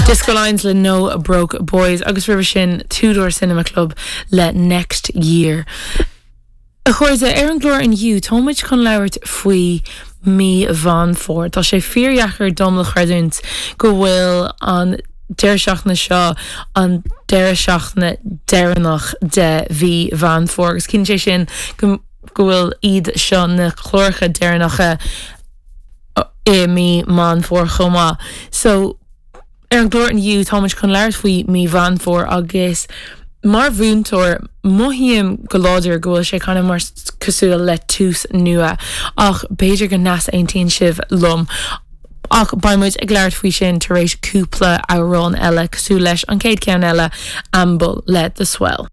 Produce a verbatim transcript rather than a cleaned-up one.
Disco Lines le No Broke Boys agus roimhe sin Two Door Cinema Club le Next Year. A chairde ar an gclár inniu táimid chun labhairt faoi mí Mheán Fómhair. Tá sé fíordheacair dom le chreidiúint go bhfuil an deireadh seachtaine seo an deireadh seachtaine deireanach de mhí Mheán Fómhair agus ciallaíonn sé sin go go bhfuil iad seo na cláracha deireanacha i mí Mheán Fómhair chomh maith. So ar an gclár inniu táimid chun labhairt faoi mí Mheán Fómhair agus mar mhúinteoir mothaím go láidir go bhfuil sé kind of mar cosúil le tús nua ach b'fhéidir go n-aontaíonn sibh liom. Ach beimid ag labhairt faoi sin tar éis cúpla amhrán eile cosúil leis an chéad cheann eile Amble le The Swell.